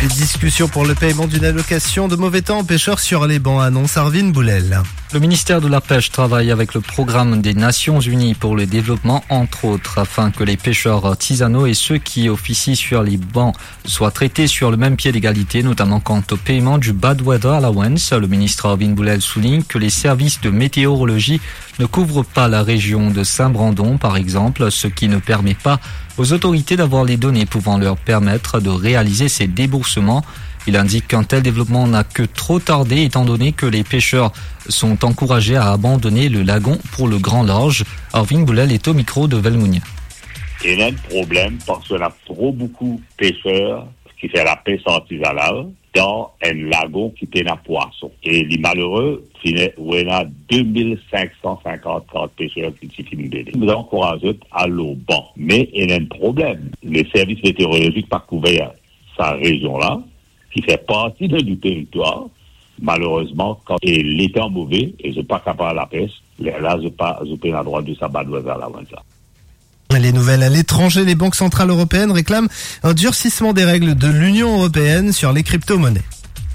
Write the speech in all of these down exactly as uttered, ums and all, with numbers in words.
Discussion pour le paiement d'une allocation de mauvais temps aux pêcheurs sur les bancs, annonce Arvin Boulel. Le ministère de la Pêche travaille avec le Programme des Nations Unies pour le développement, entre autres, afin que les pêcheurs artisanaux et ceux qui officient sur les bancs soient traités sur le même pied d'égalité, notamment quant au paiement du Bad Weather Allowance. Le ministre Arvin Boulel souligne que les services de météorologie ne couvrent pas la région de Saint-Brandon, par exemple, ce qui ne permet pas aux autorités d'avoir les données pouvant leur permettre de réaliser ces déboursements. Il indique qu'un tel développement n'a que trop tardé, étant donné que les pêcheurs sont encouragés à abandonner le lagon pour le grand large. Arvin Boulel est au micro de Velmounia. Ena enn problem parski ena tro boukou peser ki fer lapes artizanal dan enn lagon ki pena pwason. E li malere, finn ena de mil sink san sinkant peser ki ti finn bene. Nou ankouraze zot al lor ban. Me ena enn problem. Le servis meteorolozik pa kouver sa rezion la, ki fer parti de nou teritwar. Malerezman, kan, e letan move, e zot pa kapav lapes, lerla zot pa, zot pena drwa de sa bad weather allowance la. Les nouvelles à l'étranger, les banques centrales européennes réclament un durcissement des règles de l'Union européenne sur les crypto-monnaies.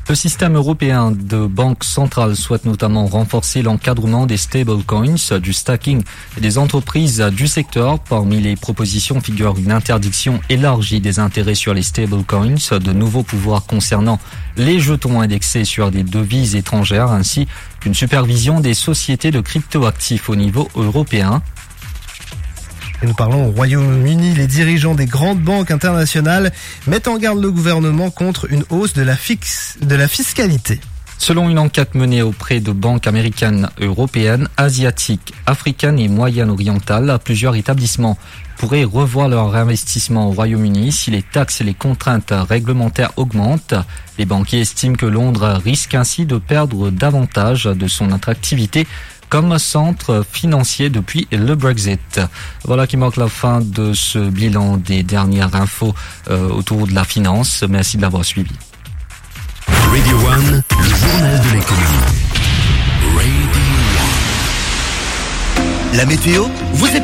Le système européen de banque centrale souhaite notamment renforcer l'encadrement des stablecoins, du stacking et des entreprises du secteur. Parmi les propositions figure une interdiction élargie des intérêts sur les stablecoins, de nouveaux pouvoirs concernant les jetons indexés sur des devises étrangères, ainsi qu'une supervision des sociétés de cryptoactifs au niveau européen. Et nous parlons au Royaume-Uni. Les dirigeants des grandes banques internationales mettent en garde le gouvernement contre une hausse de la fixe, de la fiscalité. Selon une enquête menée auprès de banques américaines, européennes, asiatiques, africaines et moyen-orientales, plusieurs établissements pourraient revoir leur investissement au Royaume-Uni si les taxes et les contraintes réglementaires augmentent. Les banquiers estiment que Londres risque ainsi de perdre davantage de son attractivité comme centre financier depuis le Brexit. Voilà qui marque la fin de ce bilan des dernières infos, euh, autour de la finance. Merci de l'avoir suivi. Radio One, le journal de l'économie. Radio One. La météo vous est